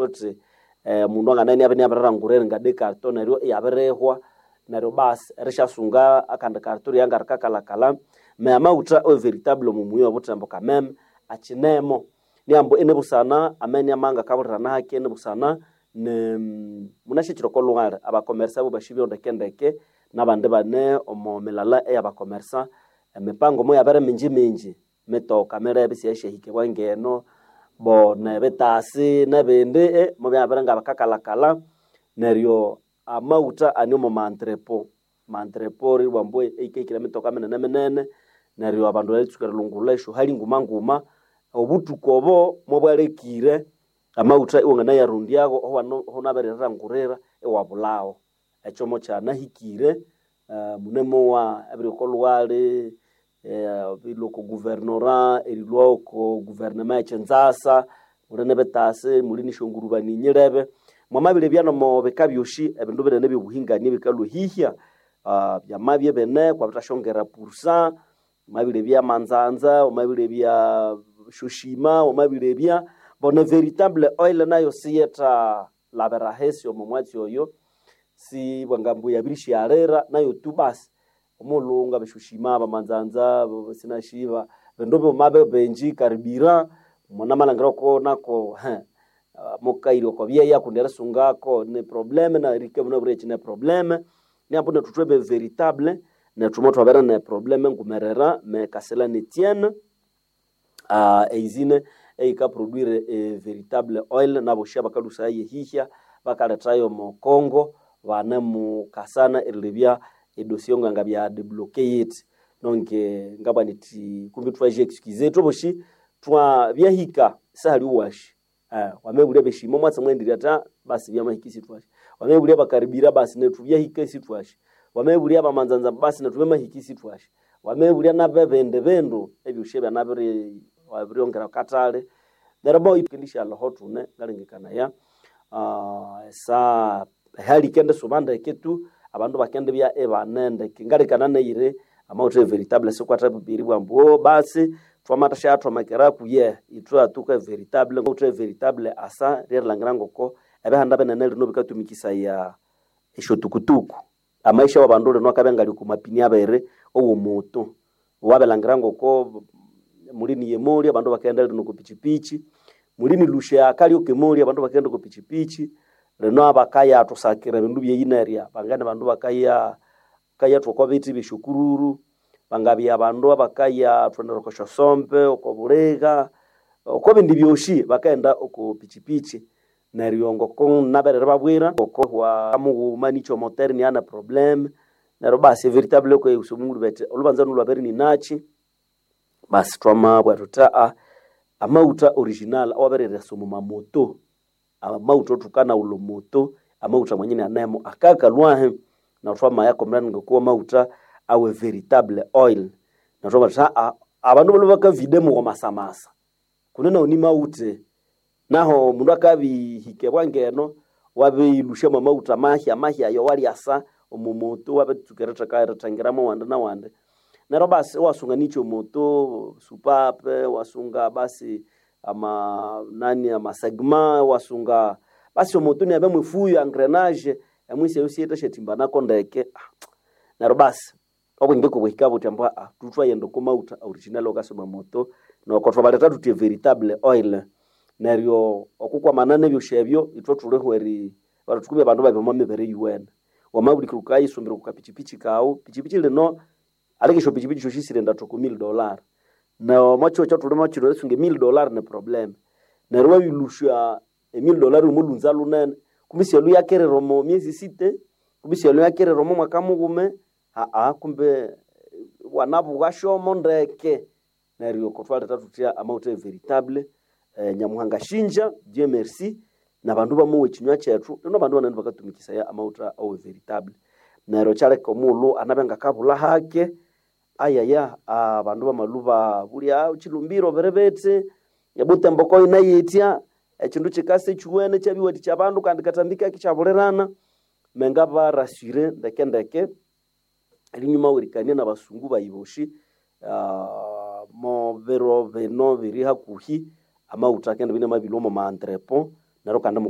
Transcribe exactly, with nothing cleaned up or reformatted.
Thuthi eh, mundu anganania abiriranguririra nga de carton neryo iyabirihwa neryo basi erisyasunga akandi carton ryangarikakalakala me amaghutha e veritable omu muyi obuthembo kameme akyinemo niambu inibusana ameni amanga akabulirana hake inibusana ne munasyakyira oko lhughali abakomersa abo basibyeho ndekendeke nabandi bane omo milala eyabakomersa emipango moyabere mingi mingi mitoka mirebe siyasyahikibwa ngeno bo nebitasi nebindi eh, mubyabere nga bakakalakala neryo amaghutha ane omo mantrepo mantrepo ribwambu eikahikira emitoka minene minene neryo abandu baritsuka erilungulha esyohali nguma nguma obuthuku obo mobwalekire amaghutha iwanganayarondyago ohunabirirangurira iwabulhawo ekyo mokyanahikire uh, munemowa ebiri oko lhughali eh, erilhwa oko guvernora erilhwa oko guvernema ekyinzasa muli nibitasi muli nisyongurubani nyilebe mwamabiribya nomo bika byosi ebindu binene ebyobuhingani ebikalhwa hihya uh, byamabya ebine kwabithasyongera pursa wamabirebya manzanza wamabirebya shoshima wamabirebya bona veritable oil nayo siyetha labira hesi omo mwatsi oyo si bwangambu yabirisyalira nayo tu basi omulunga beshoshima bamanzanza sinashiba bindu bighuma bibenji karibira munamalhangira oko nako he mukairi oko byeya kundi erisungako ni probleme na erike munabwire ne probleme niambu nethu thwebe veritable nethu mothwabere ne probleme ngumerera me kasela netienne uh, eizine eyikaproduire e veritable oil naboshi abakalhusayo yehihya bakalethayo omo Congo bane mukasana erilebya edossier nganga bya debloquer yithi nonke ngabwa nithi kumbi thwaje excuse thwaboshi twa byahika sahali washi eh wamebulya beshimo mwatsi mwendirya ta basi byamahika isithwashi wamebulya bakaribira basi nethu byahika isithwashi wamebulya bamanzanza basi nethu byamahika isithwashi wamebulya nabebindi bindu ebyosi ebyanabiri wabiryongera katale neryo bo ikendishalho thune ngalengekanaya uh, esa hali ikendisuba ndeke tu abandu bakendibya ibane ndeke ngalekana neyire amawutha veritable sikwatha bibiri bwambu "Oh, basi twamathasyathomekera kuye ithwe atuka veritable amawutha veritable asa ryerilhangira ngoko ebihanda binene lino bikatumikisaya esyotukutuku amaisha wabandu lino akabya ngali ku mapini abiri owomutu wabilhangira ngoko mulini yemoli abandu bakaghenda lino ku pichipichi mulini lusha kalyoka emoli abandu bakaghenda ku pichipichi lino abakayathusakira ebindu byeyinerya bangane bandu bakaya bakayathwa oko bithi byesyokururu bangabya abandu abakayathondera oko syosombe oko buliga oko bindi byosi bakaghenda oko pichipichi neryo ngoko naberere babwira ngoko wa mughuma nikyo moteri niana probleme neryo basi veritable kwe usomungulu bete olubanza nulwabere ninachi basi twamabwa thuthi aa amawutha original awabiriresa omu mamoto amawutha othukanawulha omoto amawutha mwenyine anemo akakalwahi na thwamayakomerana ngokuwa amawutha awe veritable oil na twamabugha thuthi aa abandu balhwe bakavide mughamasamasa kundi nawu nimawuthe naho mundu akabihikebwa ngeno wabilusha mwamawutha mahya mahya ayo walyasa omu moto wabitsuka eritheka erithengeramu awandi nawandi neryo basi iwasunga nikyo moto supape wasunga basi ama nani amasegma wasunga basi omoto niabe mwifuyo engrenage emwisi eyo siyithasyathimbanako ndeke neryo basi obwenge kubwihika buthi ambu aa thuthwayenda oko mawutha original okasoma moto noko thwabaletha thuthi veritable oil neryo okukwamana nebyosi ebyo ithwe thuliho eri bathuthukubya abandu babya omo mibere yuwene wamabulikira wukayisumbira oko kapichipichi kawu pichipichi lino aleka esyopichipichi syosi sirienda thoko mil dollar nomwakihugho ekyathulimo kino erisunga emil dollar ni problem neryo wabilusya emil dollar omo lhunza lunene kumbi syalhu yakerera omo myezi sita kumbi syalhu yakerera omo mwaka mughume aa kumbe wanabugha syomo ndeke neryo kothwaletha thuthya amawutha e veritable eh, nyamuhanga shinja Dieu merci nabandu bamowa ekinywa kyethu lino abandu banene bakatumikisaya amawutha awe veritable neryo kyaleka omughulhu anabya ngakabulha hake ayaya abandu bamalhuba bulya kilumbiro biribithi ebutembo koyina yitya ekindu kikasa ekyuwene kyabiwathikya abandu kandi katambi kaki kyabulirana menga barasire ndeke ndeke erinyuma werikania nabasungu bayi bosi uh, mo biro bino biri hakuhi amawutha akendibya inamabilhwa omo ma entrepot neryo kandi